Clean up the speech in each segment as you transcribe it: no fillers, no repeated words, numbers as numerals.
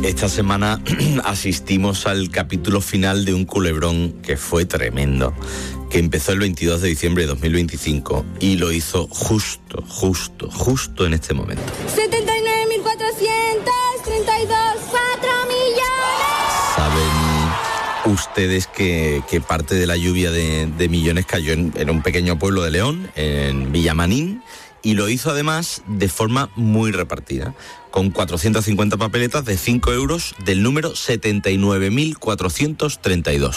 Esta semana asistimos al capítulo final de un culebrón que fue tremendo, que empezó el 22 de diciembre de 2025 y lo hizo justo en este momento. 79.432, 4 millones. ¿Saben ustedes que parte de la lluvia de millones cayó en un pequeño pueblo de León, en Villamanín? Y lo hizo además de forma muy repartida, con 450 papeletas de 5 euros del número 79.432.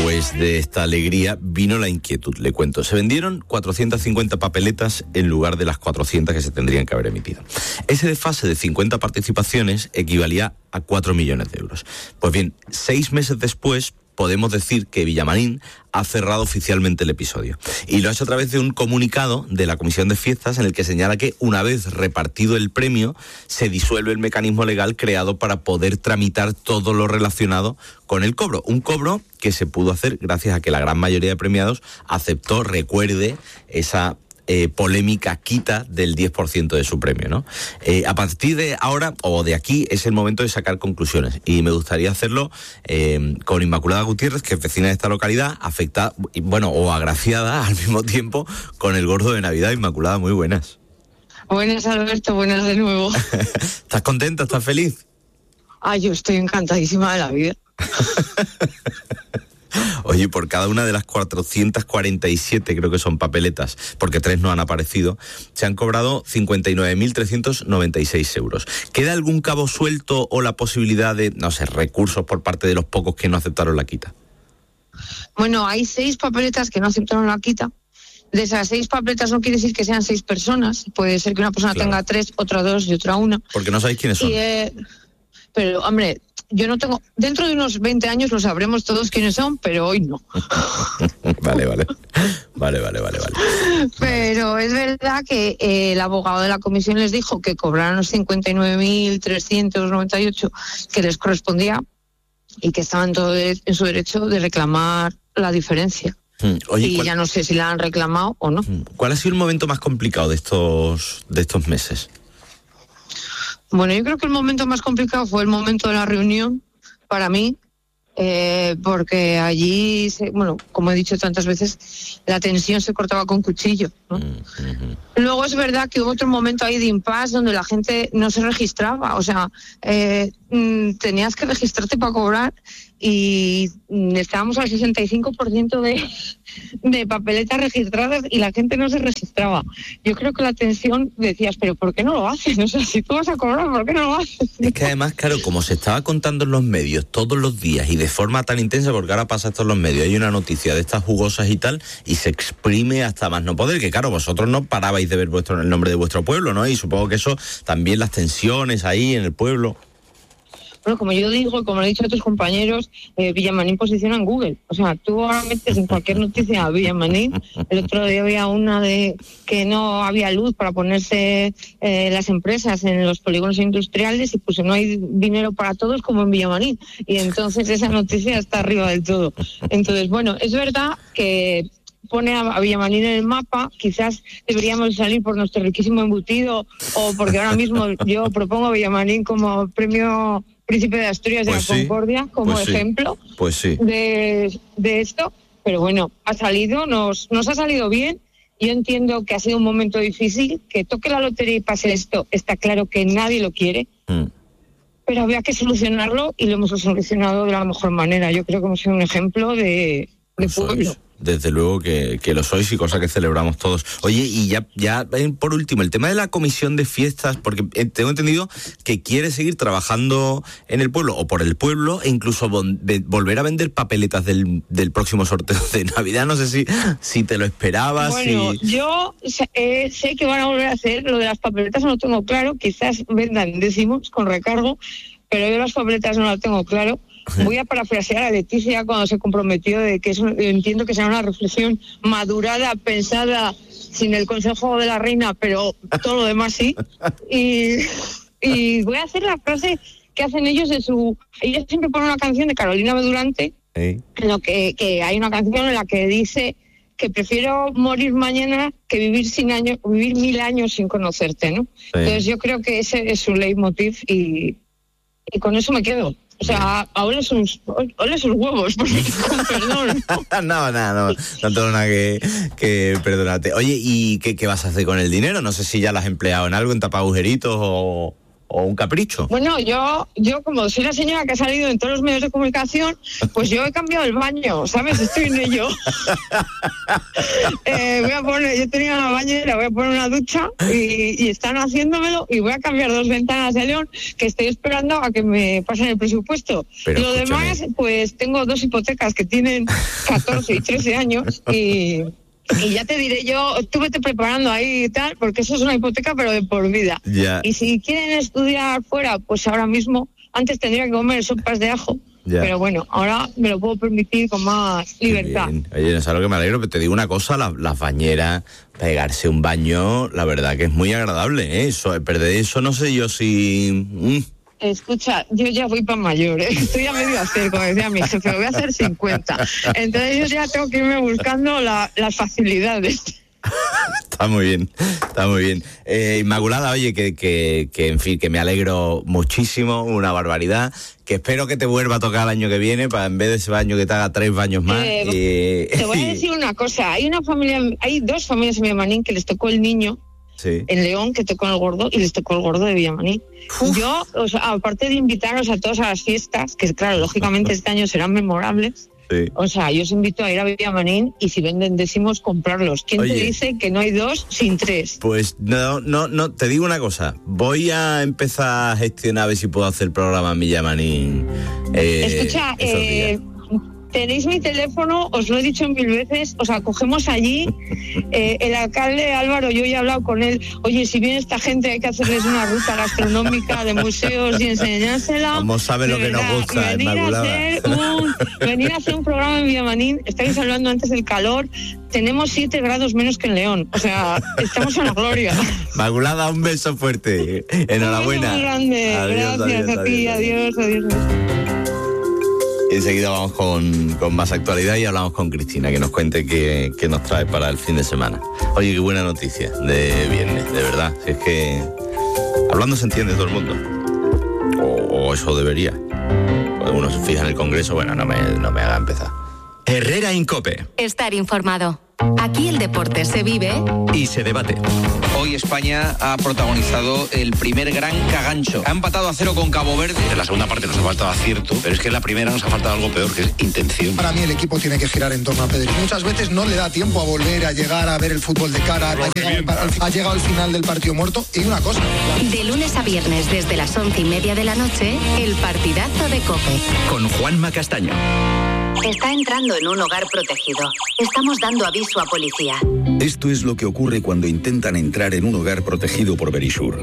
Pues de esta alegría vino la inquietud, le cuento. Se vendieron 450 papeletas en lugar de las 400 que se tendrían que haber emitido. Ese desfase de 50 participaciones equivalía a 4 millones de euros. Pues bien, 6 meses después, podemos decir que Villamarín ha cerrado oficialmente el episodio. Y lo ha hecho a través de un comunicado de la Comisión de Fiestas en el que señala que una vez repartido el premio, se disuelve el mecanismo legal creado para poder tramitar todo lo relacionado con el cobro. Un cobro que se pudo hacer gracias a que la gran mayoría de premiados aceptó, recuerde, esa polémica quita del 10% de su premio, ¿no? A partir de ahora, o de aquí, es el momento de sacar conclusiones. Y me gustaría hacerlo con Inmaculada Gutiérrez, que es vecina de esta localidad, afectada, bueno, o agraciada al mismo tiempo con el gordo de Navidad. Inmaculada, muy buenas. Buenas, Alberto, buenas de nuevo. ¿Estás contenta? ¿Estás feliz? Yo estoy encantadísima de la vida. Oye, por cada una de las 447, creo que son papeletas, porque 3 no han aparecido, se han cobrado 59.396 euros. ¿Queda algún cabo suelto o la posibilidad de, no sé, recursos por parte de los pocos que no aceptaron la quita? Bueno, hay 6 papeletas que no aceptaron la quita. De esas 6 papeletas no quiere decir que sean 6 personas. Puede ser que una persona tenga 3, otra 2 y otra 1. Porque no sabéis quiénes son. Pero, hombre, yo no tengo... Dentro de unos 20 años lo sabremos todos quiénes son, pero hoy no. Vale. Pero es verdad que el abogado de la comisión les dijo que cobraran los 59.398 que les correspondía y que estaban todos en su derecho de reclamar la diferencia. Oye, ya no sé si la han reclamado o no. ¿Cuál ha sido el momento más complicado de estos meses? Bueno, yo creo que el momento más complicado fue el momento de la reunión para mí, porque allí, como he dicho tantas veces, la tensión se cortaba con cuchillo, ¿no? Luego es verdad que hubo otro momento ahí de impasse donde la gente no se registraba, o sea, tenías que registrarte para cobrar y estábamos al 65% de papeletas registradas y la gente no se registraba. Yo creo que la tensión, decías, pero ¿por qué no lo haces? O sea, si tú vas a cobrar, ¿por qué no lo haces? Es que además, claro, como se estaba contando en los medios todos los días y de forma tan intensa, porque ahora pasa esto en los medios, hay una noticia de estas jugosas y tal, y se exprime hasta más no poder, que claro, vosotros no parabais de ver el nombre de vuestro pueblo, ¿no? Y supongo que eso, también las tensiones ahí en el pueblo. Bueno, como yo digo y como lo he dicho a tus compañeros, Villamanín posiciona en Google. O sea, tú ahora metes en cualquier noticia a Villamanín. El otro día había una de que no había luz para ponerse las empresas en los polígonos industriales y pues no hay dinero para todos como en Villamanín. Y entonces esa noticia está arriba del todo. Entonces, bueno, es verdad que pone a Villamanín en el mapa, quizás deberíamos salir por nuestro riquísimo embutido o porque ahora mismo yo propongo a Villamanín como premio Príncipe de Asturias de la Concordia como ejemplo de esto, pero bueno, ha salido, nos ha salido bien. Yo entiendo que ha sido un momento difícil, que toque la lotería y pase esto, está claro que nadie lo quiere, pero había que solucionarlo y lo hemos solucionado de la mejor manera. Yo creo que hemos sido un ejemplo de pueblo. Desde luego que lo sois y cosa que celebramos todos. Oye, y ya por último, el tema de la comisión de fiestas, porque tengo entendido que quiere seguir trabajando en el pueblo o por el pueblo e incluso volver a vender papeletas del próximo sorteo de Navidad. No sé si te lo esperabas. Bueno, yo sé que van a volver a hacer lo de las papeletas, no lo tengo claro. Quizás vendan décimos con recargo, pero yo las papeletas no las tengo claro. Voy a parafrasear a Leticia cuando se comprometió de que eso, entiendo que será una reflexión madurada, pensada, sin el consejo de la reina, pero todo lo demás sí. Y voy a hacer la frase que hacen ellos ellos siempre ponen una canción de Carolina Bedurante, en lo que hay una canción en la que dice que prefiero morir mañana que vivir 1000 años sin conocerte, ¿no? Sí. Entonces yo creo que ese es su leitmotiv y con eso me quedo. O sea, ahora sus huevos, porque, con perdón. No tengo nada que perdonarte. Oye, ¿y qué vas a hacer con el dinero? No sé si ya lo has empleado en algo, en tapar agujeritos o un capricho. Bueno, yo como soy la señora que ha salido en todos los medios de comunicación, pues yo he cambiado el baño, ¿sabes? Estoy en ello. Yo tenía una bañera, voy a poner una ducha y están haciéndomelo y voy a cambiar 2 ventanas de León que estoy esperando a que me pasen el presupuesto. Pero lo demás, pues tengo 2 hipotecas que tienen 14 y 13 años y ya te diré yo, tú vete preparando ahí y tal, porque eso es una hipoteca pero de por vida. Ya. Y si quieren estudiar fuera, pues ahora mismo, antes tendría que comer sopas de ajo, ya. Pero bueno, ahora me lo puedo permitir con más libertad. Oye, no sabes lo que me alegro, pero te digo una cosa, las bañeras, pegarse un baño, la verdad que es muy agradable, ¿eh? Perder eso no sé yo si... Escucha, yo ya voy para mayor, ¿eh? Estoy a medio hacer, como decía mi jefe, voy a hacer 50. Entonces yo ya tengo que irme buscando las facilidades. Está muy bien. Inmaculada, oye, que en fin, que me alegro muchísimo, una barbaridad, que espero que te vuelva a tocar el año que viene, para en vez de ese baño que te haga 3 baños más. Te voy a decir una cosa, hay 2 familias en Villamarín que les tocó el niño. Sí. En León, que tocó el gordo, y les tocó el gordo de Villamarín. Yo, aparte de invitaros a todos a las fiestas, que claro, lógicamente este año serán memorables, sí. O sea, yo os invito a ir a Villamarín y si venden décimos, comprarlos. ¿Quién te dice que no hay 2 sin 3? Pues no, te digo una cosa, voy a empezar a gestionar a ver si puedo hacer el programa en Villamarín. Escucha, tenéis mi teléfono, os lo he dicho 1000 veces, os acogemos allí. El alcalde Álvaro, yo ya he hablado con él. Oye, si viene esta gente hay que hacerles una ruta gastronómica de museos y enseñársela. Como sabe lo que nos gusta, venir a hacer un programa en Villamarín. Estáis hablando antes del calor. Tenemos 7 grados menos que en León. O sea, estamos a la gloria. Inmaculada, un beso fuerte. Enhorabuena. Un beso muy grande. Adiós, gracias a ti. Adiós. Y enseguida vamos con más actualidad y hablamos con Cristina, que nos cuente qué nos trae para el fin de semana. Oye, qué buena noticia de viernes, de verdad. Si es que hablando se entiende todo el mundo. O eso debería. Uno se fija en el Congreso, bueno, no me haga empezar. Herrera Incope. Estar informado. Aquí el deporte se vive y se debate. Hoy España ha protagonizado el primer gran cagancho. Ha empatado a 0 con Cabo Verde. En la segunda parte nos ha faltado acierto, pero es que en la primera nos ha faltado algo peor, que es intención. Para mí el equipo tiene que girar en torno a Pedri. Muchas veces no le da tiempo a volver a llegar a ver el fútbol de cara. Ha llegado al final del partido muerto. Y una cosa. De lunes a viernes desde las 11:30 de la noche, el partidazo de COPE. Con Juanma Castaño. Está entrando en un hogar protegido. Estamos dando aviso a policía. Esto es lo que ocurre cuando intentan entrar en un hogar protegido por Verisure.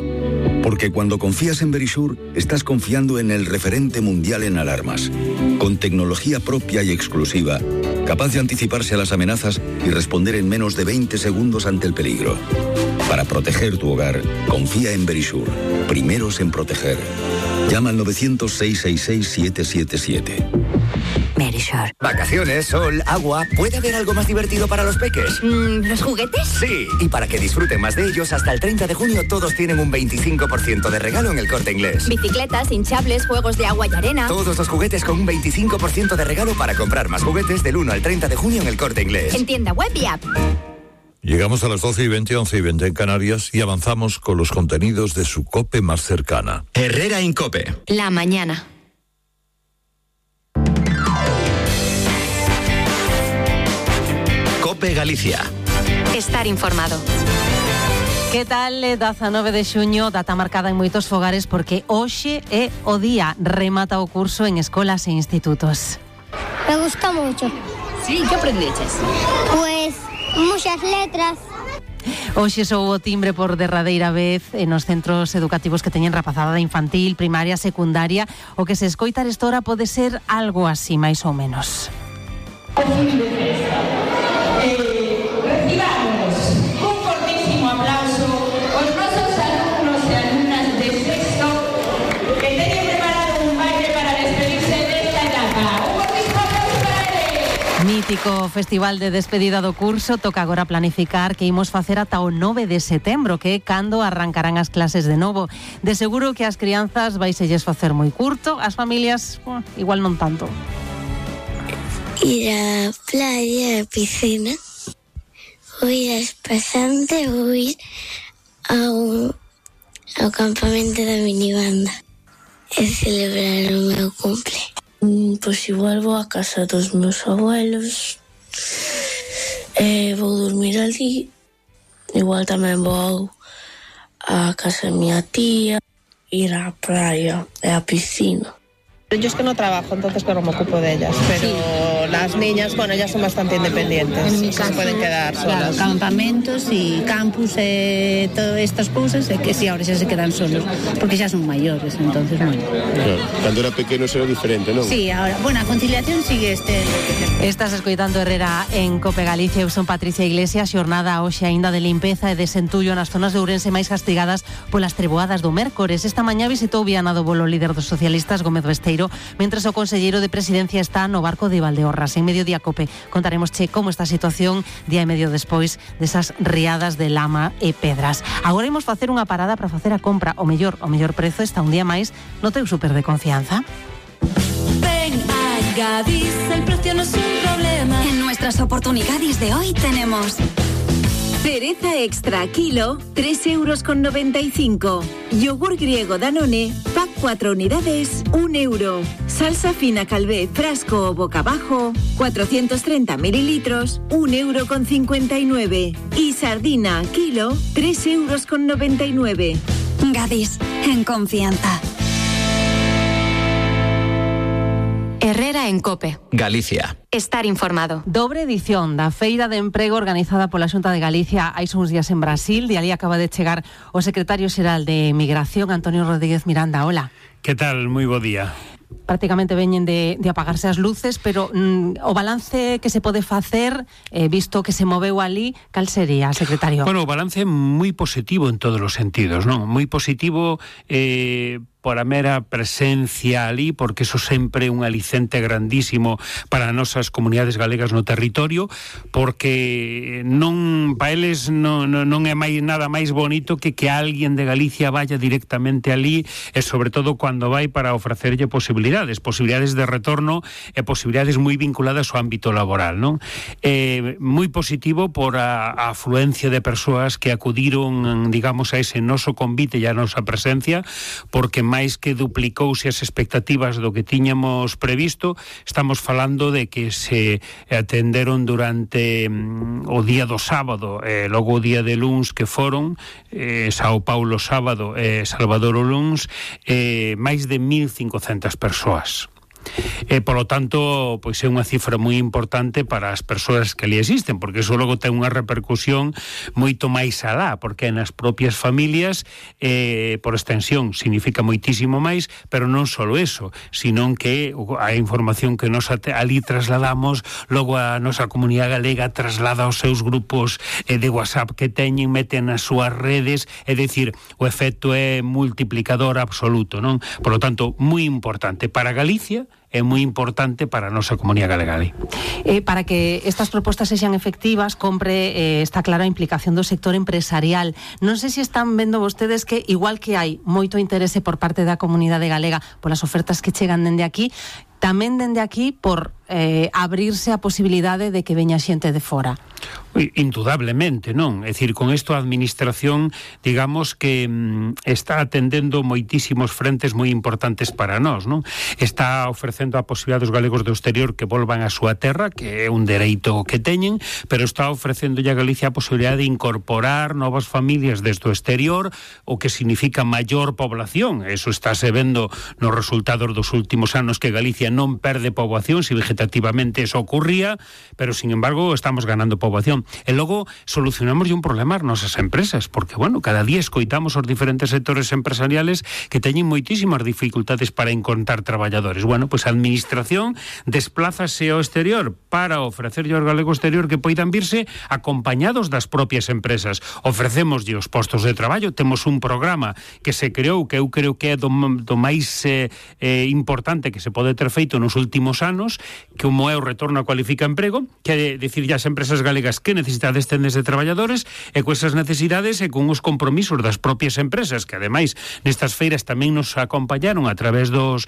Porque cuando confías en Verisure, estás confiando en el referente mundial en alarmas. Con tecnología propia y exclusiva, capaz de anticiparse a las amenazas y responder en menos de 20 segundos ante el peligro. Para proteger tu hogar, confía en Verisure. Primeros en proteger. Llama al 900-666-777. Verisure. Vacaciones, sol, agua. ¿Puede haber algo más divertido para los peques? ¿Los juguetes? Sí, y para que disfruten más de ellos, hasta el 30 de junio todos tienen un 25% de regalo en el Corte Inglés. Bicicletas, hinchables, juegos de agua y arena. Todos los juguetes con un 25% de regalo para comprar más juguetes del 1 al 30 de junio en el Corte Inglés. En tienda web y app. Llegamos a las 12:20, 11:20 en Canarias y avanzamos con los contenidos de su COPE más cercana. Herrera Incope. La mañana. COPE Galicia. Estar informado. Que tal? 19 de xuño, data marcada en moitos fogares porque hoxe é o día, remata o curso en escolas e institutos. Me gusta mucho. Sí, ¿qué aprendeches? Pues muchas letras. Hoxe sou o timbre por derradeira vez nos centros educativos que teñen rapazada infantil, primaria, secundaria. O que se escoita esta hora pode ser algo así, máis ou menos. Recibamos un fortísimo aplauso aos nosos alumnos e alumnas de sexto que teñen preparado un baile para despedirse desta etapa. Un fortísimo aplauso para eles. mítico festival de despedida do curso toca agora planificar que imos facer ata o 9 de setembro, que é cando arrancarán as clases de novo. De seguro que as crianzas vaiselles facer moi curto, as familias igual non tanto. Ir á playa, á piscina, ou ir a espasante, ou ir ao campamento da minibanda e celebrar o meu cumple. Pois igual vou a casa dos meus abuelos, vou dormir ali, igual tamén vou a casa da miña tía, ir á praia e á piscina. Yo es que no trabajo, entonces claro, me ocupo de ellas, pero sí. Las niñas, bueno, ellas son bastante independientes, en mi caso, se pueden quedar solas. Claro, campamentos y campus, todas estas cosas, que sí, ahora ya se quedan solos, porque ya son mayores, entonces, bueno. Claro, cuando era pequeno era diferente, ¿no? Sí, ahora, bueno, a conciliación sigue Estás escoitando Herrera en Cope Galicia. Eu son Patricia Iglesias. Xornada hoxe aínda de limpeza e desentullo nas zonas de Ourense máis castigadas polas treboadas do mércores. Esta mañá visitou Viana do Bolo o líder dos socialistas, Gómez Besteiro, mentres o conselleiro de Presidencia está no barco de Valdeorras. En Mediodía Cope contaremos como está a situación día e medio despois desas riadas de lama e pedras. Agora imos facer unha parada para facer a compra. O mellor prezo está un día máis no teu super de confianza. Ven a Gadis, el precio no es un problema. En nuestras oportunidades de hoy tenemos cereza extra kilo, 3,95 €. Yogur griego Danone, pack 4 unidades, 1 €. Salsa fina Calvé, frasco o boca abajo, 430 mililitros, 1,59 €. Y sardina kilo, 3,99 €. Gadis, en confianza. Herrera en Cope. Galicia. Estar informado. Dobre edición da Feira de Emprego organizada pola Xunta de Galicia hai uns días en Brasil. De ali acaba de chegar o secretario xeral de Migración, Antonio Rodríguez Miranda. Hola. Que tal? Moi bo día. Prácticamente veñen de apagarse as luces, pero o balance que se pode facer, visto que se moveu ali, cal sería, secretario? Bueno, o balance é moi positivo en todos os sentidos, non? Moi positivo por a mera presencia ali, porque eso sempre é un alicente grandísimo para as nosas comunidades galegas no territorio, porque non para eles non é nada máis bonito que alguén de Galicia vaya directamente ali, e sobre todo cando vai para ofrecerlle posibilidades de retorno e posibilidades moi vinculadas ao ámbito laboral, non? Moi positivo por a afluencia de persoas que acudiron, digamos, a ese noso convite e a nosa presencia, porque máis que duplicouse as expectativas do que tiñamos previsto. Estamos falando de que se atenderon durante o día do sábado, logo o día de luns que foron, Sao Paulo sábado e Salvador o luns, máis de 1.500 persoas. Por lo tanto, pois é unha cifra moi importante para as persoas que ali existen, porque iso logo ten unha repercusión moito máis alá, porque nas propias familias, por extensión, significa moitísimo máis, pero non só eso, sino que a información que nos ali trasladamos, logo a nosa comunidade galega traslada aos seus grupos de WhatsApp que teñen, meten nas súas redes, é dicir, o efecto é multiplicador absoluto, non? Por lo tanto, moi importante para Galicia, é moi importante para a nosa comunidade galega. Para que estas propostas sexan efectivas, compre, está clara a implicación do sector empresarial. Non sei se están vendo vostedes que, igual que hai moito interese por parte da comunidade galega polas ofertas que chegan dende aquí, tamén dende aquí por abrirse a posibilidade de que veña xente de fora. Indudablemente, non? É dicir, con isto a administración, digamos que está atendendo moitísimos frentes moi importantes para nós, non? Está ofrecendo a posibilidade dos galegos do exterior que volvan a súa terra, que é un dereito que teñen, pero está ofrecendo a Galicia a posibilidade de incorporar novas familias desde o exterior, o que significa maior población. Eso estáse vendo nos resultados dos últimos anos, que Galicia non perde poboación, se vegetativamente eso ocurría, pero, sin embargo, estamos ganando poboación. E logo solucionamos un problema ás nosas empresas, porque, bueno, cada día escoitamos os diferentes sectores empresariales que teñen moitísimas dificultades para encontrar traballadores. Bueno, pois a administración desplázase ao exterior para ofrecerlle aos galegos exterior que poidan virse acompañados das propias empresas. Ofrecémoslle os postos de traballo, temos un programa que se creou, que eu creo que é do máis importante que se pode ter feito feito nos últimos anos, como é o retorno a Cualifica Emprego, que é dicir as empresas galegas que necesitades tendes de traballadores, e con esas necesidades e con os compromisos das propias empresas, que ademais nestas feiras tamén nos acompañaron a través das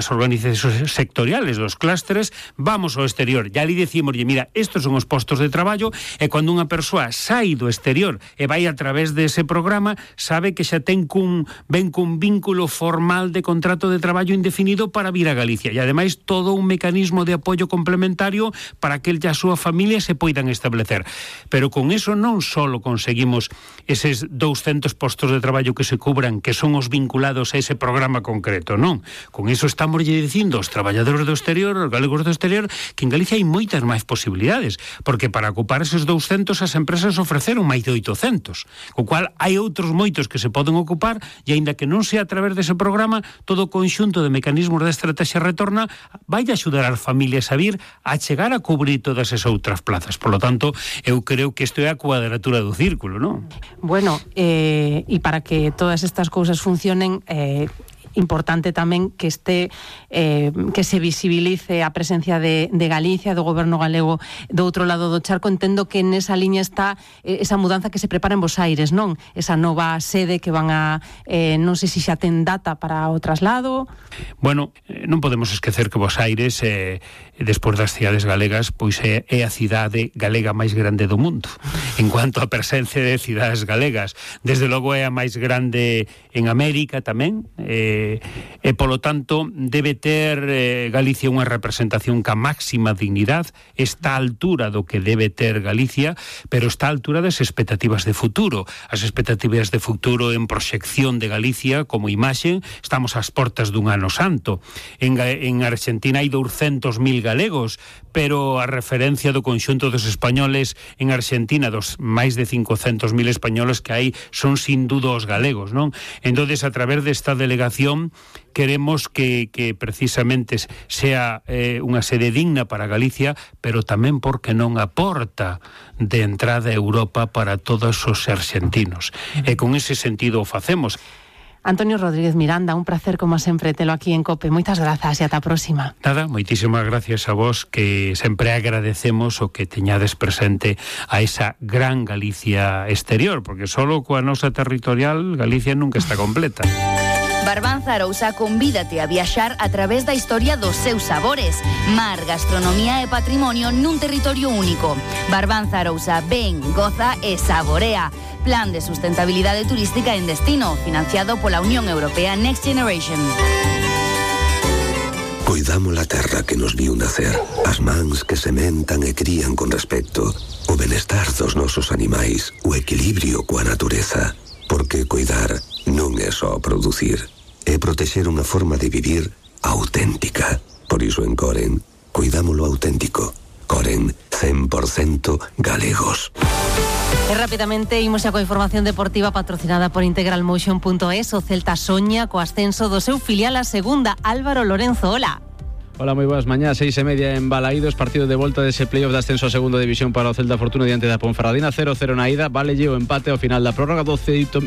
organizacións sectoriales, dos clústeres, vamos ao exterior. E ali decimos, mira, estos son os postos de traballo, e cando unha persoa sai do exterior e vai a través dese programa, sabe que xa ten cun vínculo formal de contrato de traballo indefinido para vir a Galicia, e ademais todo un mecanismo de apoio complementario para que el e a súa familia se poidan establecer. Pero con eso non só conseguimos eses 200 postos de traballo que se cubran, que son os vinculados a ese programa concreto, non. Con eso estamos dicindo aos traballadores do exterior, aos galegos do exterior, que en Galicia hai moitas máis posibilidades, porque para ocupar eses 200 as empresas ofreceron máis de 800, co cual hai outros moitos que se poden ocupar, e aínda que non sea a través dese programa, todo o conxunto de mecanismos da estrategia retorna vai axudar as familias a vir a chegar a cubrir todas esas outras plazas. Por lo tanto, eu creo que isto é a cuadratura do círculo, non? Bueno, e para que todas estas cousas funcionen, importante tamén que que se visibilice a presencia de Galicia, do goberno galego do outro lado do charco. Entendo que nesa liña está esa mudanza que se prepara en Bos Aires, non? Esa nova sede que van a non sei se xa ten data para o traslado. Bueno, non podemos esquecer que Bos Aires, despois das cidades galegas, pois é a cidade galega máis grande do mundo en cuanto a presencia de cidades galegas. Desde logo é a máis grande en América tamén, e polo tanto debe ter Galicia unha representación ca máxima dignidade, está a altura do que debe ter Galicia, pero está a altura das expectativas de futuro. As expectativas de futuro en proxección de Galicia como imaxe, estamos ás portas dun ano santo. En Argentina hai 200.000 galegos, pero a referencia do conxunto dos españoles en Argentina, dos máis de 500.000 españoles que hai, son sin duda os galegos, non? Entonces, a través desta delegación queremos que precisamente sea unha sede digna para Galicia, pero tamén porque non aporta de entrada a Europa para todos os argentinos. E con ese sentido o facemos. Antonio Rodríguez Miranda, un placer como sempre telo aquí en COPE. Moitas grazas e ata a próxima. Nada, moitísimas gracias a vos, que sempre agradecemos o que teñades presente a esa gran Galicia exterior, porque solo coa nosa territorial Galicia nunca está completa. Barbanza Arousa convídate a viaxar a través da historia dos seus sabores. Mar, gastronomía e patrimonio nun territorio único. Barbanza Arousa, ven, goza e saborea. Plan de sustentabilidade turística en destino, financiado pola Unión Europea Next Generation. Coidamos a terra que nos viu nacer, as mans que sementan e crían con respecto, o benestar dos nosos animais, o equilibrio coa natureza. Porque coidar non é só producir, é protexer unha forma de vivir auténtica. Por iso en Coren, cuidámolo auténtico. Coren, 100% galegos. E rapidamente imos xa coa información deportiva patrocinada por integralmotion.es. O Celta soña co ascenso do seu filial a segunda. Álvaro Lorenzo, hola. Hola, moi boas mañás, 6:30 en Balaídos, partido de volta dese playoff de ascenso a segunda división para o Celta Fortuna diante da Ponferradina, 0-0 na ida, valelle o empate ao final da prórroga, 18.000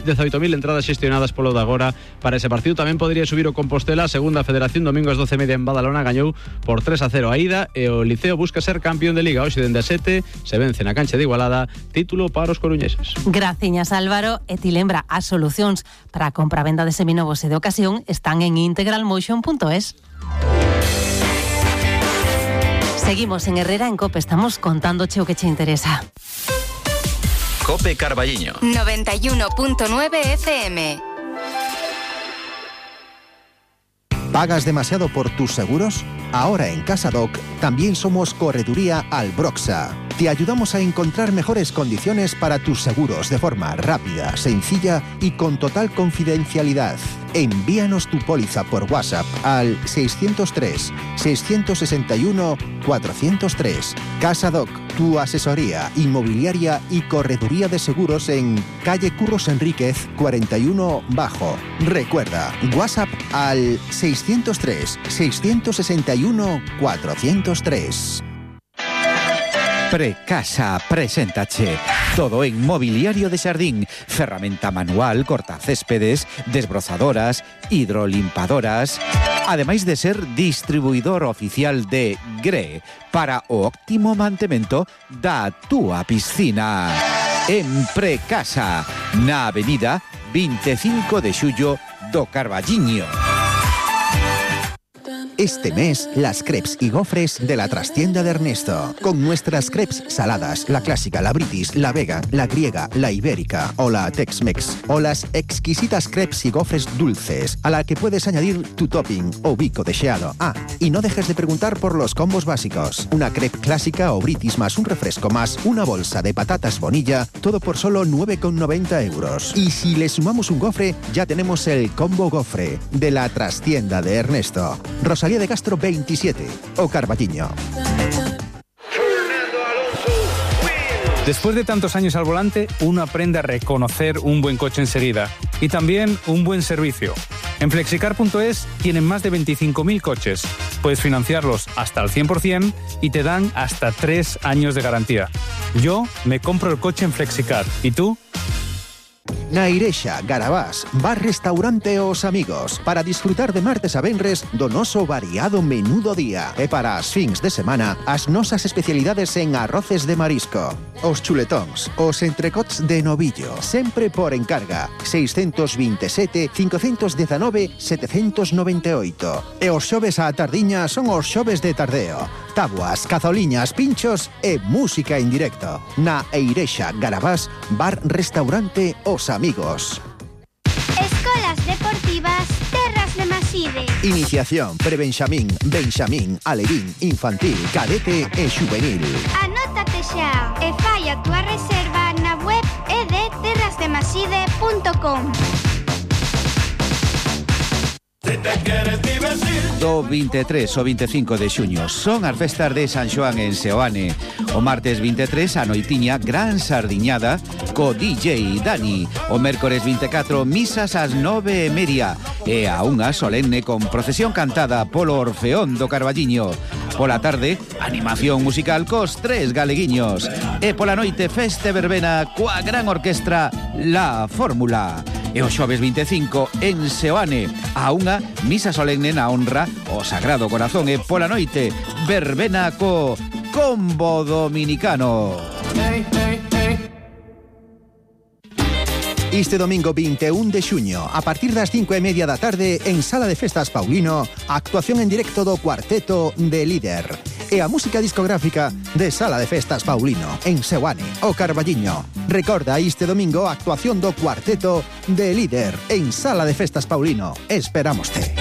entradas xestionadas polo de agora para ese partido. Tamén podría subir o Compostela, segunda federación, domingo ás 12:30 en Badalona, gañou por 3-0 a ida, e o Liceo busca ser campeón de Liga, hoxe dende a 7, se vence na cancha de Igualada, título para os coruñeses. Graciñas, Álvaro, e ti lembra, as solucións para a compra-venda de seminovos e de ocasión están en integralmotion.es. Seguimos en Herrera en COPE, estamos contándoche o que che interesa. COPE Carballiño 91.9 FM. ¿Pagas demasiado por tus seguros? Ahora en CasaDoc también somos Correduría Albroxa. Te ayudamos a encontrar mejores condiciones para tus seguros de forma rápida, sencilla y con total confidencialidad. Envíanos tu póliza por WhatsApp al 603-661-403. CasaDoc, tu asesoría inmobiliaria y correduría de seguros en calle Curros Enríquez 41 Bajo. Recuerda, WhatsApp al 603-661-403. Precasa, preséntache Todo en mobiliario de xardín, ferramenta manual, cortacéspedes, desbrozadoras, hidrolimpadoras, ademais de ser distribuidor oficial de GRE para o óptimo mantemento da túa piscina. En Precasa, na avenida 25 de xullo do Carballiño. Este mes, las crepes y gofres de la trastienda de Ernesto. Con nuestras crepes saladas, la clásica, la british, la vegan, la griega, la ibérica o la Tex-Mex. O las exquisitas crepes y gofres dulces, a la que puedes añadir tu topping o bico deseado. Ah, y no dejes de preguntar por los combos básicos. Una crepe clásica o british más un refresco más una bolsa de patatas Bonilla, todo por solo 9,90 euros. Y si le sumamos un gofre, ya tenemos el combo gofre de la trastienda de Ernesto. Rosalía de Castro 27 o Carballiño. Después de tantos años al volante, uno aprende a reconocer un buen coche enseguida y también un buen servicio. En Flexicar.es tienen más de 25.000 coches. Puedes financiarlos hasta el 100% y te dan hasta 3 años de garantía. Yo me compro el coche en Flexicar. ¿Y tú? Na Irexa, Garabás, bar restaurante Os Amigos, para disfrutar de martes a venres do noso variado menú do día. E para as fins de semana, as nosas especialidades en arroces de marisco, os chuletóns, os entrecots de novillo, sempre por encarga, 627 519 798. E os xoves á tardiña son os xoves de tardeo. Tabuas, cazoliñas, pinchos e música en directo. Na Irexa, Garabás, bar restaurante Os Amigos. Escolas deportivas Terras de Maside. Iniciación, prebenxamín, benxamín, alevín, infantil, cadete e xuvenil. Anótate xa e fai a túa reserva na web edterrasdemaside.com. Do 23 ao 25 de xuño son as festas de San Xoán en Seoane. O martes 23 a noitiña gran sardiñada co DJ Dani. O mércores 24 misas ás 9:30 e a unha solemne con procesión cantada polo Orfeón do Carballiño. Pola tarde, animación musical cos 3 galeguiños. E pola noite feste verbena coa gran orquestra La Fórmula. E o xoves 25 en Seoane a unha misa solemne na honra o Sagrado Corazón e pola noite verbena co Combo Dominicano. Este domingo 21 de xuño, a partir das 5:30 da tarde, en Sala de Festas Paulino, actuación en directo do Cuarteto de Líder. E a música discográfica de Sala de Festas Paulino, en Seoane, o Carballiño. Recorda este domingo a actuación do Cuarteto de Líder, en Sala de Festas Paulino. Esperámoste.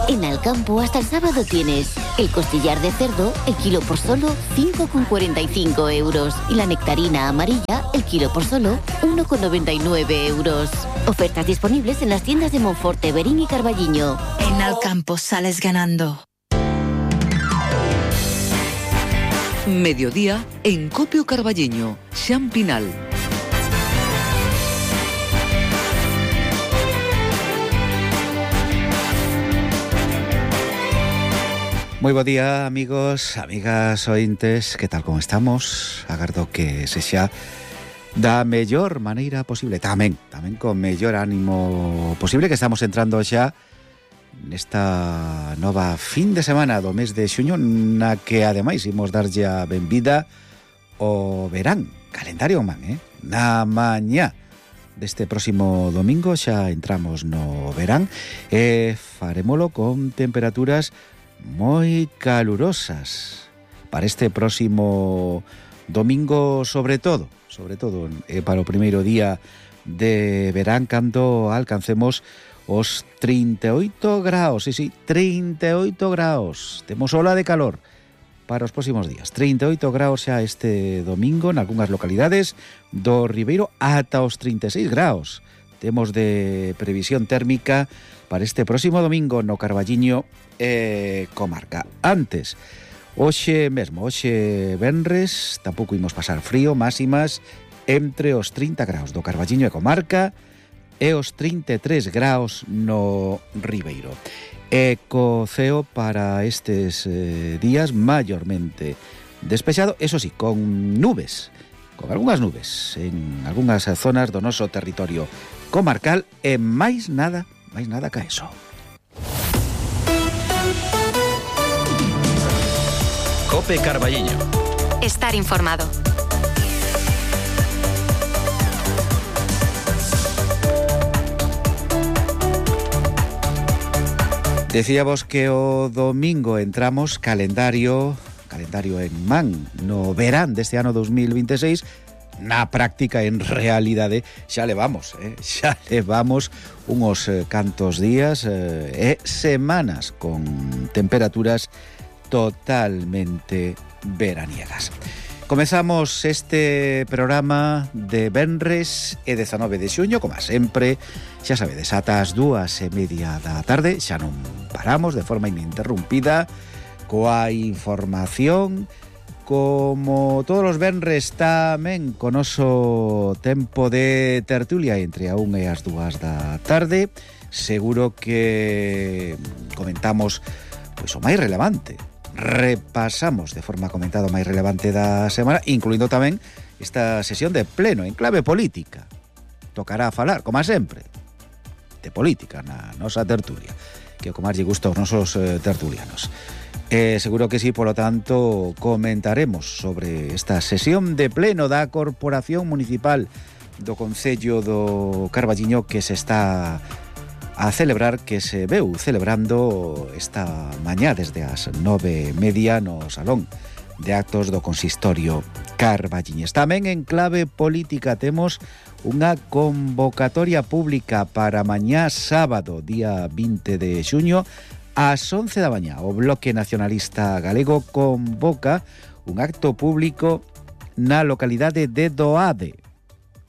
En Alcampo hasta el sábado tienes el costillar de cerdo, el kilo por solo 5,45 euros. Y la nectarina amarilla, el kilo por solo 1,99 euros. Ofertas disponibles en las tiendas de Monforte, Berín y Carballiño. En Alcampo sales ganando. Mediodía en Copio Carballiño, Xan Pinal. Moi bo día, amigos, amigas, ointes, que tal como estamos? Agardo que sexa da mellor maneira posible, tamén con mellor ánimo posible, que estamos entrando xa nesta nova fin de semana do mes de xuño, na que ademais imos darlle a benvida o verán, calendario man, na mañá deste próximo domingo xa entramos no verán e farémolo con temperaturas moi calurosas para este próximo domingo, sobre todo para o primeiro día de verán, cando alcancemos os 38 graus, sí, 38 graus. Temos ola de calor para os próximos días. 38 graus xa este domingo nalgúnas localidades do Ribeiro, ata os 36 graus. Temos de previsión térmica para este próximo domingo no Carballiño e comarca. Antes, hoxe venres, tampouco imos pasar frío, máximas entre os 30 graus do Carballiño e comarca e os 33 graus no Ribeiro. E co ceo para estes días maiormente despexado, eso sí, con nubes, con algunhas nubes en algunhas zonas do noso territorio comarcal e máis nada ca eso. Cope Carballiño. Estar informado. Decíamos que o domingo entramos calendario en man no verán deste ano 2026. Na práctica, en realidade, xa levamos unos cantos días e semanas con temperaturas totalmente veraniegas. Comezamos este programa de venres e 19 de xuño, como sempre, xa sabedes, ata as 2:30 da tarde, xa non paramos de forma ininterrumpida coa información, como todos os venres tamén con noso tempo de tertulia entre a 1 e as 2 da tarde. Seguro que comentamos pois o máis relevante. Repasamos de forma comentada o máis relevante da semana, incluindo tamén esta sesión de pleno en clave política. Tocará falar, como sempre, de política na nosa tertulia, que o que máis lle gusta aos nosos tertulianos. Seguro que sí, polo tanto, comentaremos sobre esta sesión de pleno da Corporación Municipal do Concello do Carballiño que se está a celebrar, que se veu celebrando esta mañá desde as 9:30 no Salón de Actos do Consistorio Carballiñes. Tamén en clave política temos unha convocatoria pública para mañá sábado, día 20 de xuño, ás 11 da mañá. O Bloque Nacionalista Galego convoca un acto público na localidade de Doade,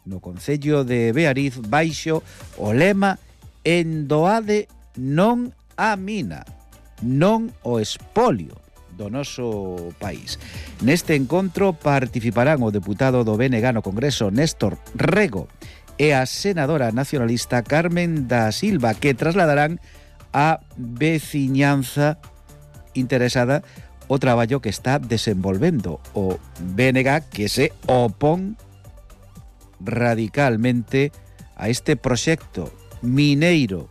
no concello de Beariz, baixo o lema "En Doade non a mina, non o espolio do noso país". Neste encontro participarán o deputado do BNG no Congreso, Néstor Rego, e a senadora nacionalista Carmen da Silva, que trasladarán a veciñanza interesada o traballo que está desenvolvendo o BNG, que se opón radicalmente a este proxecto mineiro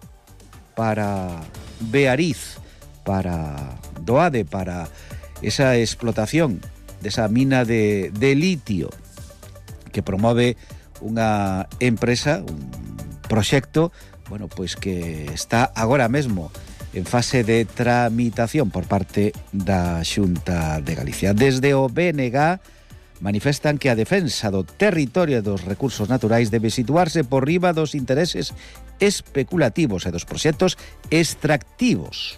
para Beariz, para Doade, para esa explotación desa mina de litio que promove unha empresa, un proxecto, bueno, pois que está agora mesmo en fase de tramitación por parte da Xunta de Galicia. Desde o BNG manifestan que a defensa do territorio e dos recursos naturais debe situarse por riba dos intereses especulativos e dos proxectos extractivos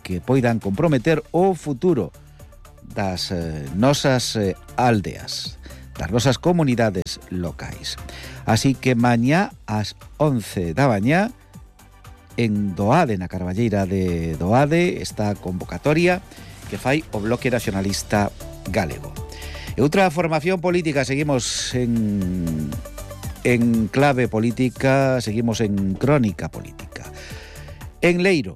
que poidan comprometer o futuro das nosas aldeas, das nosas comunidades locais. Así que mañá ás 11 da mañá en Doade, na Carballeira de Doade, esta convocatoria que fai o Bloque Nacionalista Galego. E outra formación política, seguimos en clave política, seguimos en crónica política. En Leiro,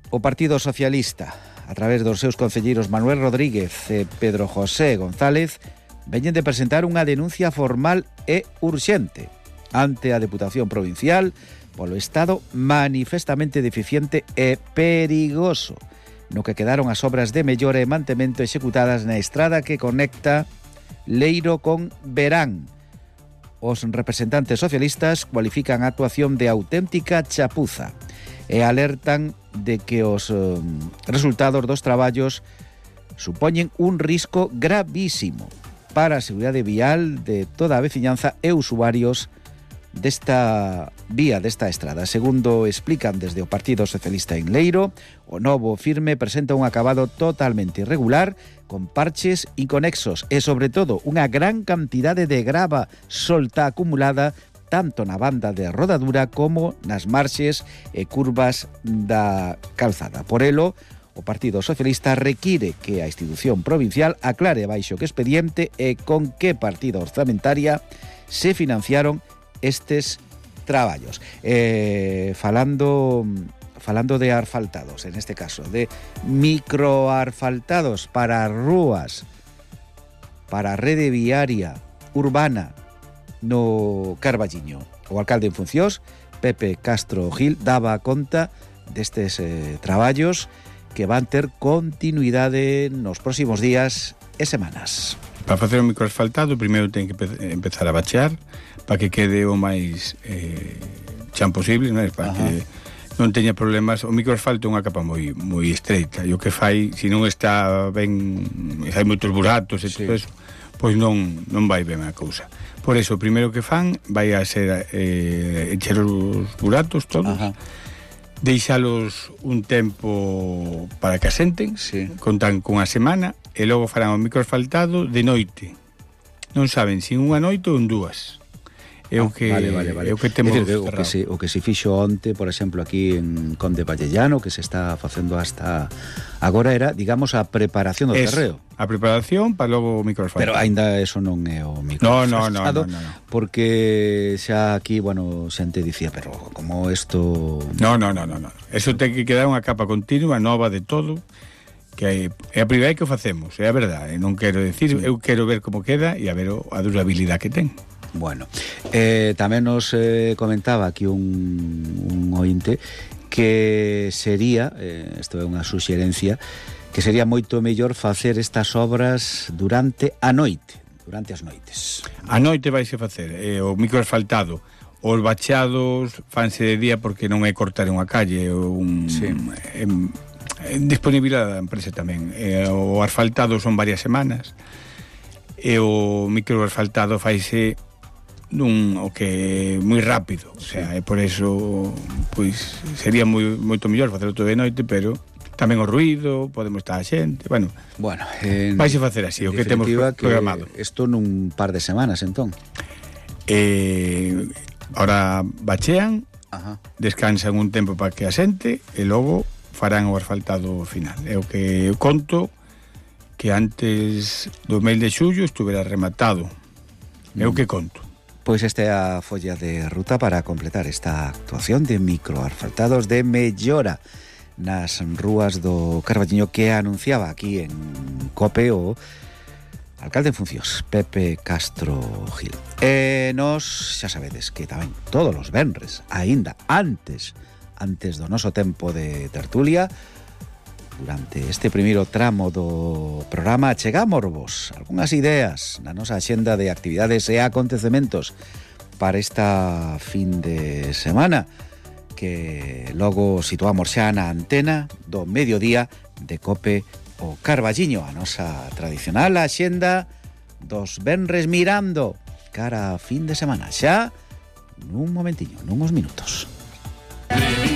o Partido Socialista, a través dos seus concelleiros Manuel Rodríguez e Pedro José González, veñen de presentar unha denuncia formal e urxente ante a Deputación Provincial polo estado manifestamente deficiente e perigoso no que quedaron as obras de mellora e mantemento executadas na estrada que conecta Leiro con Verán. Os representantes socialistas cualifican a actuación de auténtica chapuza e alertan de que os resultados dos traballos supoñen un risco gravísimo para a seguridade vial de toda a veciñanza e usuarios desta vía, desta estrada. Segundo explican desde o Partido Socialista en Leiro, o novo firme presenta un acabado totalmente irregular, con parches inconexos e, sobre todo, unha gran cantidade de grava solta acumulada tanto na banda de rodadura como nas marxes e curvas da calzada. Por elo, o Partido Socialista require que a institución provincial aclare baixo que expediente e con que partida orzamentaria se financiaron estes traballos. Falando de asfaltados, en este caso, de microasfaltados para rúas para a rede viaria urbana no Carballiño. O alcalde en funcións, Pepe Castro Gil, daba conta destes traballos que van ter continuidade nos próximos días e semanas. Para facer un microasfaltado, primeiro ten que empezar a bachear para que quede o máis chan posible, non? Para que non teña problemas. O microasfalto é unha capa moi estreita, e o que fai, se non está ben, hai moitos buratos e todo eso, pois non vai ben a cousa. Por eso, o primeiro que fan vai a ser encher os buratos todos, deixalos un tempo para que asenten, contan con a semana, e logo farán o microasfaltado de noite. Non saben se unha noite ou en dúas. É o que é o que temos o que se fixo onte, por exemplo, aquí en Conde Vallellano, que se está facendo hasta agora, era, digamos, a preparación do terreo. A preparación para logo o microasfaltado. Pero aínda eso non é o microasfaltado. No. Porque xa aquí, bueno, xente dicía, pero como isto... No. Eso ten que quedar unha capa continua, nova de todo, que é a primeira que o facemos, é a verdade. Non quero decir, eu quero ver como queda e a ver a durabilidade que ten. Bueno, tamén nos comentaba aquí un ointe que sería, isto é unha suxerencia, que sería moito mellor facer estas obras durante a noite, durante as noites. A noite vaise facer o microasfaltado, os bacheados fanse de día porque non é cortar unha calle, disponibilidade da empresa tamén. O asfaltado son varias semanas e o microasfaltado faise o que moi rápido, o sea, e por eso pois sería moito mellor facelo todo de noite, pero tamén o ruído, podemos estar a xente, bueno, vais a facer así, o que temos programado. Isto nun par de semanas, entón. Ahora bachean, descansan un tempo para que asente e logo farán o asfaltado final. É o que eu conto que antes do mes de xullo estuvera rematado. É o que conto. Pois esta é a folla de ruta para completar esta actuación de microasfaltados de mellora nas rúas do Carballiño que anunciaba aquí en COPE o alcalde en funcións, Pepe Castro Gil. E nos, xa sabedes que tamén todos os venres, aínda antes do noso tempo de tertulia, durante este primeiro tramo do programa, chegámosvos algunhas ideas na nosa axenda de actividades e acontecementos para esta fin de semana, que logo situamos xa na antena do mediodía de COPE o Carballiño, a nosa tradicional axenda dos venres mirando cara a fin de semana, xa nun momentiño, nuns minutos.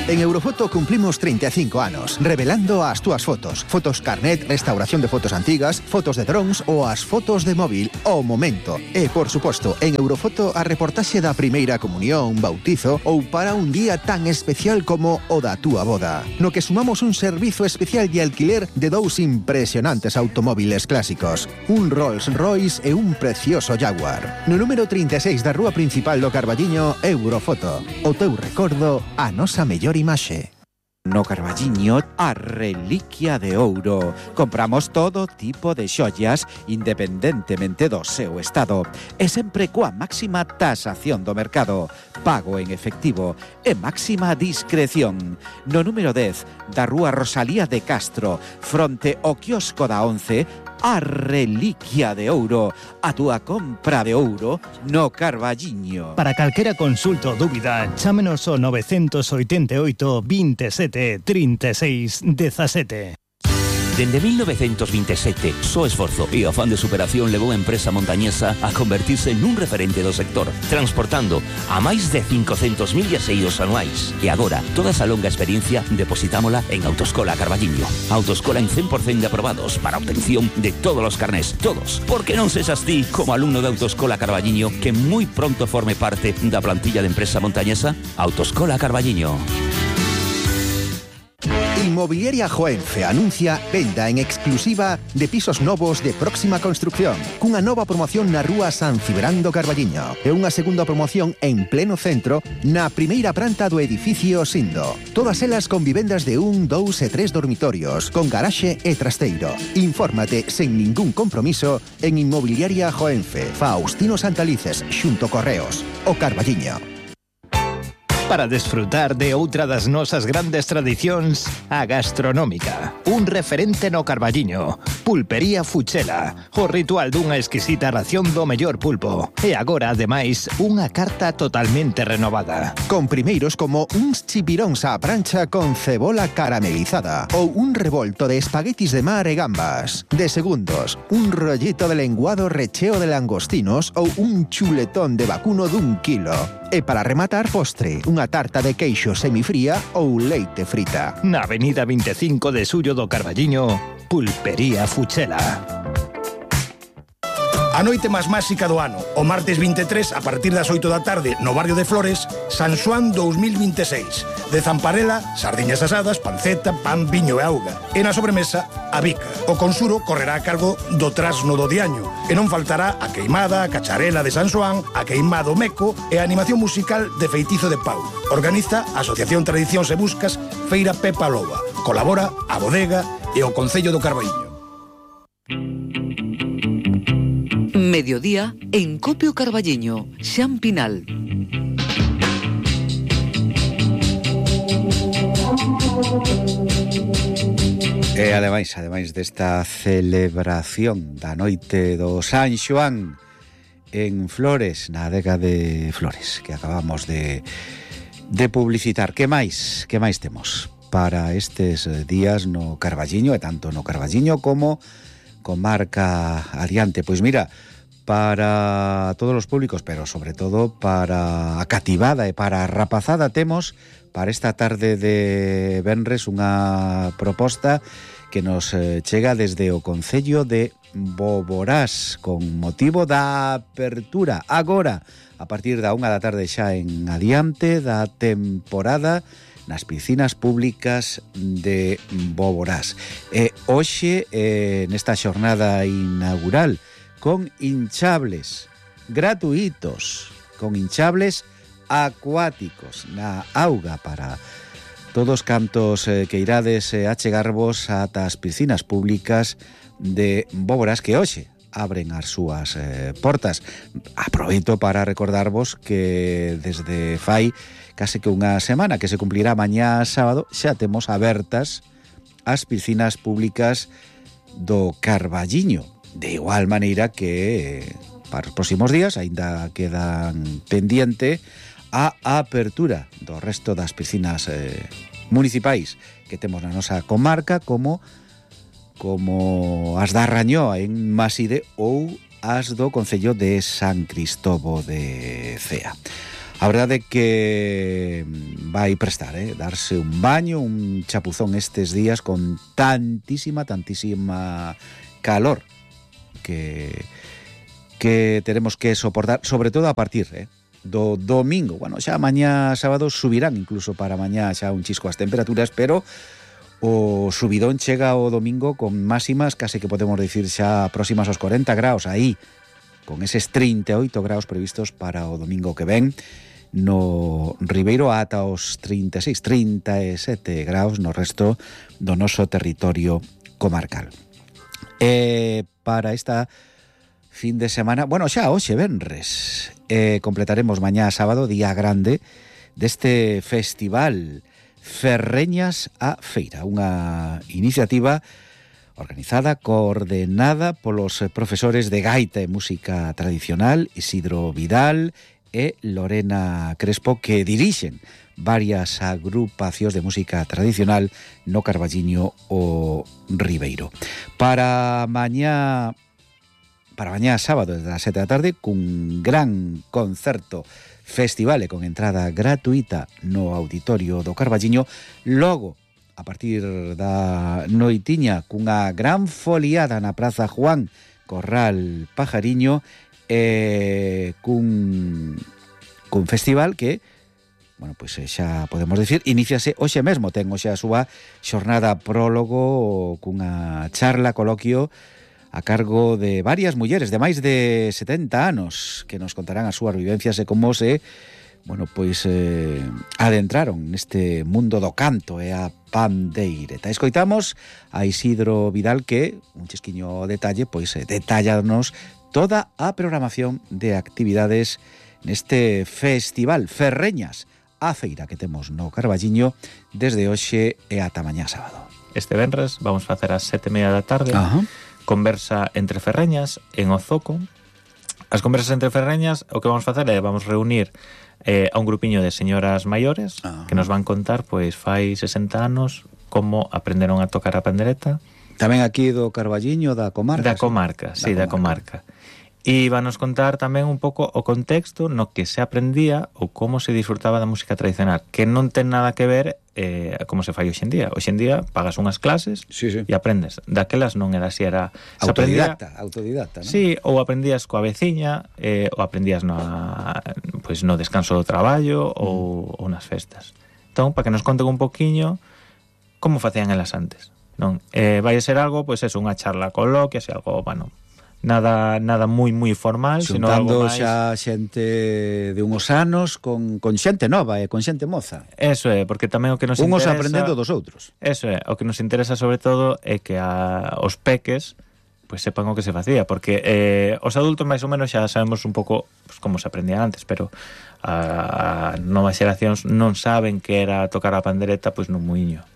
En Eurofoto cumplimos 35 anos, revelando as túas fotos. Fotos carnet, restauración de fotos antigas, fotos de drones ou as fotos de móvil ao momento. E, por suposto, en Eurofoto a reportaxe da primeira comunión, bautizo ou para un día tan especial como o da túa boda. No que sumamos un servizo especial de alquiler de dous impresionantes automóviles clásicos. Un Rolls Royce e un precioso Jaguar. No número 36 da rúa principal do Carballiño, Eurofoto. O teu recordo, a nosa mellor imaxe. No Carballiño, a reliquia de ouro. Compramos todo tipo de xollas, independentemente do seu estado. E sempre coa máxima tasación do mercado. Pago en efectivo e máxima discreción. No número 10 da rúa Rosalía de Castro, fronte ao quiosco da 11, a reliquia de ouro. A túa compra de ouro no Carballiño. Para calquera consulta ou dúbida, chámenos ao 988 27 36 17. Dende 1927, só esforzo e afán de superación levou a empresa montañesa a convertirse nun referente do sector, transportando a máis de 500.000 viaxeiros anuais. E agora, toda esa longa experiencia depositámola en Autoescola Carballiño. Autoescola en 100% de aprobados para obtención de todos os carnés, todos. Porque non sexas ti, como alumno de Autoescola Carballiño, que moi pronto forme parte da plantilla de empresa montañesa? Autoescola Carballiño. Inmobiliaria Joenfe anuncia venda en exclusiva de pisos novos de próxima construcción, cunha nova promoción na rúa San Cibrán do Carballiño e unha segunda promoción en pleno centro na primeira planta do edificio Sindo. Todas elas con vivendas de 1, 2 e 3 dormitorios, con garaxe e trasteiro. Infórmate sen ningún compromiso en Inmobiliaria Joenfe, Faustino Santalices, xunto Correos, o Carballiño. Para desfrutar de outra das nosas grandes tradicións, a gastronómica. Un referente no Carballiño. Pulpería Fuchela. O ritual dunha exquisita ración do mellor pulpo. E agora, ademais, unha carta totalmente renovada. Con primeiros como uns chipiróns á prancha con cebola caramelizada ou un revolto de espaguetis de mar e gambas. De segundos, un rollito de lenguado recheo de langostinos ou un chuletón de vacuno d'1 kilo. E para rematar, postre, unha tarta de queixo semifría ou leite frita. Na avenida 25 de Xullo do Carballiño, Pulpería Fuchela. A noite máis máxica do ano, o martes 23, a partir das 8 da tarde, no barrio de Flores, San Xoán 2026. De Zamparela, sardiñas asadas, panceta, pan, viño e auga. E na sobremesa, a bica. O consuro correrá a cargo do trasno do diaño. E non faltará a queimada, a cacharela de San Xoán, a queimado meco e a animación musical de Feitizo de Pau. Organiza a Asociación Tradicións e Buscas Feira Pepa Loba. Colabora a Bodega e o Concello do Carballiño. Mediodía en Copio Carballiño, Xan Pinal. E ademais desta celebración da noite do San Xoán en Flores, na adega de Flores, que acabamos de publicitar. Que máis temos para estes días no Carballiño, e tanto no Carballiño como comarca adiante? Pois mira, para todos os públicos, pero sobre todo para a cativada e para a rapazada, temos para esta tarde de venres unha proposta que nos chega desde o Concello de Boborás con motivo da apertura agora, a partir da 1 da tarde xa en adiante, da temporada nas piscinas públicas de Boborás. E hoxe, nesta xornada inaugural, con hinchables gratuitos, con hinchables acuáticos na auga para todos cantos que irades achegarvos ata as piscinas públicas de Boborás, que hoxe abren as súas portas. Aproveito para recordarvos que desde fai case que unha semana, que se cumplirá mañá sábado, xa temos abertas as piscinas públicas do Carballiño. De igual maneira que para os próximos días aínda quedan pendiente a apertura do resto das piscinas municipais que temos na nosa comarca, como as da Rañoa en Maside ou as do Concello de San Cristobo de Cea. A verdade é que vai prestar, darse un baño, un chapuzón estes días con tantísima calor que teremos que soportar, sobre todo a partir do domingo. Bueno, xa mañá sábado subirán incluso para mañá xa un chisco as temperaturas, pero o subidón chega o domingo con máximas case que podemos dicir xa próximas aos 40 graus, aí con eses 38 graus previstos para o domingo que ven no Ribeiro, ata os 36, 37 graus no resto do noso territorio comarcal. Para esta fin de semana, bueno, xa hoxe venres, completaremos mañá sábado, día grande deste festival Ferreñas a Feira, unha iniciativa organizada, coordenada polos profesores de gaita e música tradicional Isidro Vidal e Lorena Crespo, que dirixen varias agrupacións de música tradicional no Carballiño o Ribeiro. Para mañá sábado desde as 7 da tarde, cun gran concerto festival e con entrada gratuita no auditorio do Carballiño. Logo, a partir da noitiña, cunha gran foliada na Praza Juan Corral Pajariño, cun festival que bueno, pois xa podemos decir, iníciase hoxe mesmo, ten hoxe a súa xornada prólogo cunha charla, coloquio a cargo de varias mulleres de máis de 70 anos que nos contarán as súas vivencias e como se, bueno, pois adentraron neste mundo do canto e a pandeireta. Escoitamos a Isidro Vidal que, un chisquiño detalle, pois detallanos toda a programación de actividades neste festival Ferreñas, a feira que temos no Carballiño desde hoxe e ata mañá sábado. Este venres vamos facer ás 7:30 da tarde. Conversa entre ferreñas en Ozoco. As conversas entre ferreñas, o que vamos facer é vamos reunir a un grupiño de señoras maiores que nos van contar, pois fai 60 anos, como aprenderon a tocar a pandereta. Tamén aquí do Carballiño, da comarca. Da comarca, sí, da comarca. E van nos contar tamén un pouco o contexto no que se aprendía ou como se disfrutaba da música tradicional, que non ten nada que ver como se fai hoxe en día. Hoxe en día pagas unhas clases e aprendes. Daquelas non era así, era autodidacta, non? Sí, ou aprendías coa veciña, ou aprendías no descanso do traballo ou nas festas. Entón, para que nos conten un poquiño como facían elas antes, non? Vai ser algo, pois eso, unha charla coloquia, algo, bueno, nada moi formal, sino algo máis xa xente de unhos anos con xente nova e con xente moza. Eso é, porque tamén o que nos unhos interesa, aprendendo dos outros. Eso é, o que nos interesa sobre todo é que os peques pois sepan o que se facía, porque os adultos máis ou menos xa sabemos un pouco pues, como se aprendía antes, pero as novas xeracións non saben que era tocar a pandereta pois nun muiño.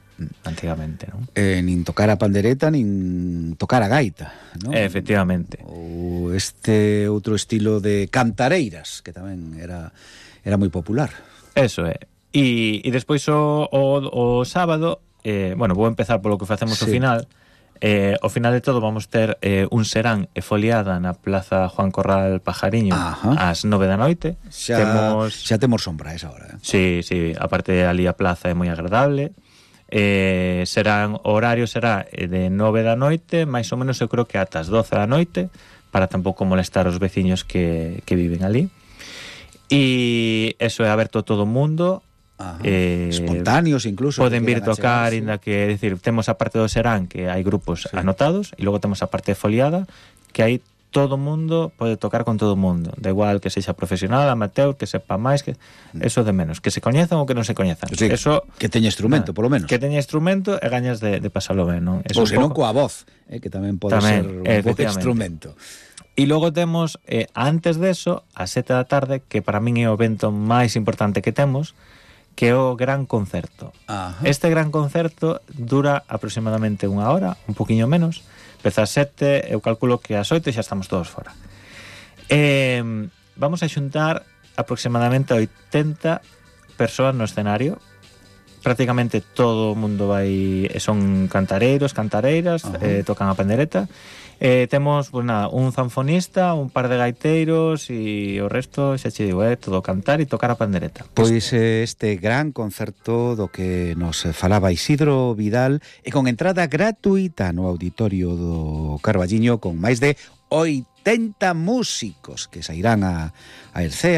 Antigamente, non? Nin tocar a pandereta, nin tocar a gaita, non? Efectivamente. Ou este outro estilo de cantareiras, que tamén era moi popular. Eso é. E despois o sábado, bueno, vou empezar polo que facemos ao final. Ao final de todo vamos ter un serán e foliada na Plaza Juan Corral Pajariño ás 9 da noite. Xa temos sombra a esa hora. Sí, aparte ali a plaza é moi agradable. O horario será de 9 da noite, máis ou menos eu creo que ata as 12 da noite, para tampouco molestar os veciños que viven ali. E eso é aberto a todo o mundo. Espontáneos incluso. Poden vir tocar, inda que, decir, temos a parte do serán que hai grupos anotados, e logo temos a parte foliada que hai todo o mundo pode tocar con todo o mundo, da igual que sexa profesional, amateur, que sepa máis, que eso de menos, que se coñezan ou que non se coñezan. Sí, eso, que teña instrumento, polo menos. Que teña instrumento e gañas de pasalo ben, non? Ou senón coa voz, que tamén pode ser un bo instrumento. E logo temos, antes deso, a 7 da tarde, que para min é o evento máis importante que temos, que é o gran concerto. Este gran concerto dura aproximadamente unha hora, un poquinho menos. Empeza a 7, eu calculo que ás 8 xa estamos todos fora. Vamos a xuntar aproximadamente 80 persoas no escenario. Prácticamente todo o mundo vai, son cantareiros, cantareiras, tocan a pandereta. Temos, pues nada, un zanfonista, un par de gaiteiros e o resto, xa che digo, todo cantar e tocar a pandereta. Pois este gran concerto do que nos falaba Isidro Vidal e con entrada gratuita no auditorio do Carballiño con máis de 80 músicos que sairán a Ercea